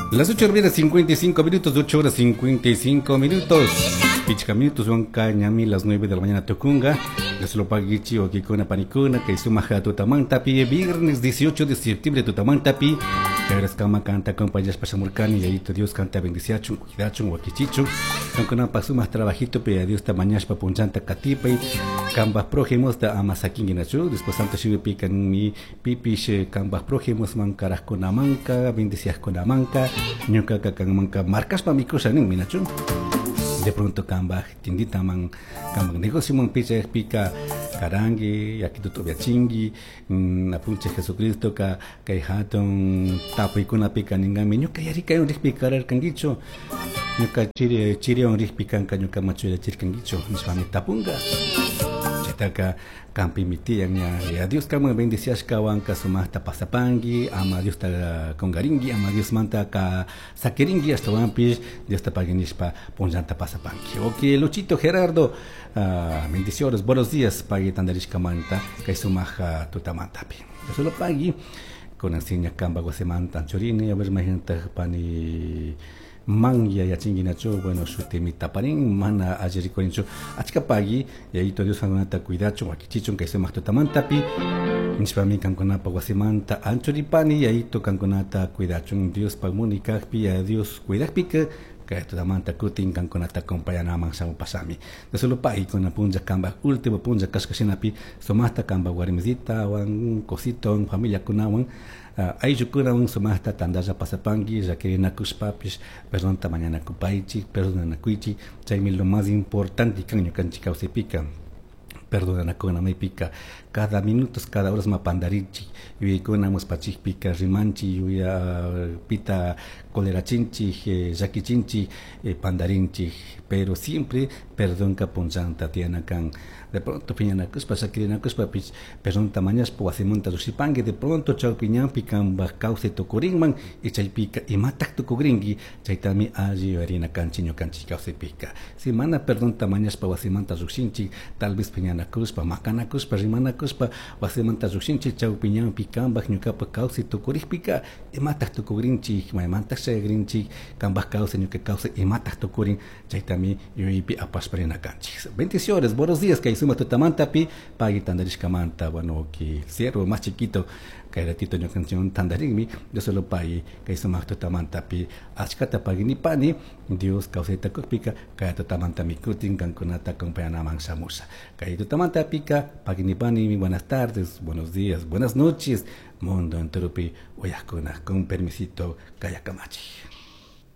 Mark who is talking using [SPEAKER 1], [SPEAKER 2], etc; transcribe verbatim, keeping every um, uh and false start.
[SPEAKER 1] Las ocho horas cincuenta y cinco minutos, ocho horas cincuenta y cinco minutos. Pichca minutos, wanka ñami las nueve de la mañana tucunga. Leslopagichi o kikuna panikuna, que sumaja tutamantapi, viernes dieciocho de septiembre tutamantapi. Kama canta compañías pasamurcani, y ahí Dios canta bendiciachun, cuidachun, wakichichun. Kankuna pasumas trabajito, pe Dios ta mañashpa punchanta katipa y kambas prójimos ta amasakinguinachu. Después santo shibe pican mi pipish kambas prójimos mancarascuna manca, bendiciascuna manca, ñuca cacan manca, marcaspa mi cosa nin minachu. De pronto kambaj tiendita man kambaj negocio man picha pica karangi aquí tu chingui apunche Jesucristo ka kai hatun tapuykuna pica ningami ñuka yarika un rikpi karar kangicho ñuka chiri chiri un rikpi kanka ñuka machuya chirkangicho nishpami tapunga chaytaka kampi mitiyan ña ya Dios kama bendiciashkawan sumaqta pasapangi ama Dios ta kongaringi ama Dios manta ka sakiringi ashtawanpish Dios ta paginishpa punllanta pasapangi. Ok, Luchito Gerardo, uh, bendiciones, buenos días pagui tandarishkamanta kay sumaja tutamantapi. Yo solo pagui con enseña kamba guasemanta anchorini a ver imagínate pani man ya yachinguinachu bueno shutimi taparin mana ajerikorinchu achkapagi yayito Dios kankunata cuidachun wakichichun kay sumaq tutamantapi nishpami kankunapa wasimanta anchuripani yayito kankunata cuidachun Dios pagmuni kajpi ya Dios cuidajpika kay tutamanta kutin kankunata acompañanaman shamu pasami de solo pagi con punlla kamba último punlla kashkashinapi sumaqta kamba warmisita wan cosito familia kunawan Uh, ayllukunawan sumaqta tantalla pasapanki llakirinakushpapish perdonta mañanakupaychik perdonanakuychik chaymi lo más importante kan ñukanchik kawsaypika perdonanakuna maypika cada minutos cada horas mapandarichik yuyaykuna muspachikpika rimanchik yuya pita colerachinchik eh, llakichinchik eh, pandarinchik pero siempre perdonka punllanta tiyana kan de pronto piñanakushpa llakirinakushpapish perdonta mañashpa wasimanta llukshipanki de pronto chawpi ñanpi kanpak kawsay tukurinman y chaypika imatak tukukrinki chaytami alli yuyarina kanchik ñukanchik kawsaypika si mana perdonta mañashpa wasimanta llukshinchik tal vez piñanakushpa makanakushpa rimanakushpa wasimanta llukshinchik chawpi ñanpi kanpak ñukapak kawsay tukurikpika imatak tukukrinchik maymantak chayakrinchik kanpak kawsay ñuka kawsay imatak tukurin chaytami yuyaypi apashpa rina kanchik. Bendiciones, buenos días kay suma tutamantapi pagui tandarishkamanta bueno que el siervo más chiquito kay ratito ñukanchik tandarinmi yo solo pagui kay sumaq tutamantapi achkata paginipani Dios kawsayta kukpika kay tutamanta mikutin kankunata acompañanaman shamusha kay tutamantapika paginipani buenas tardes, buenos días, buenas noches mundo enteropi uyajkuna con permisito kayakamachi.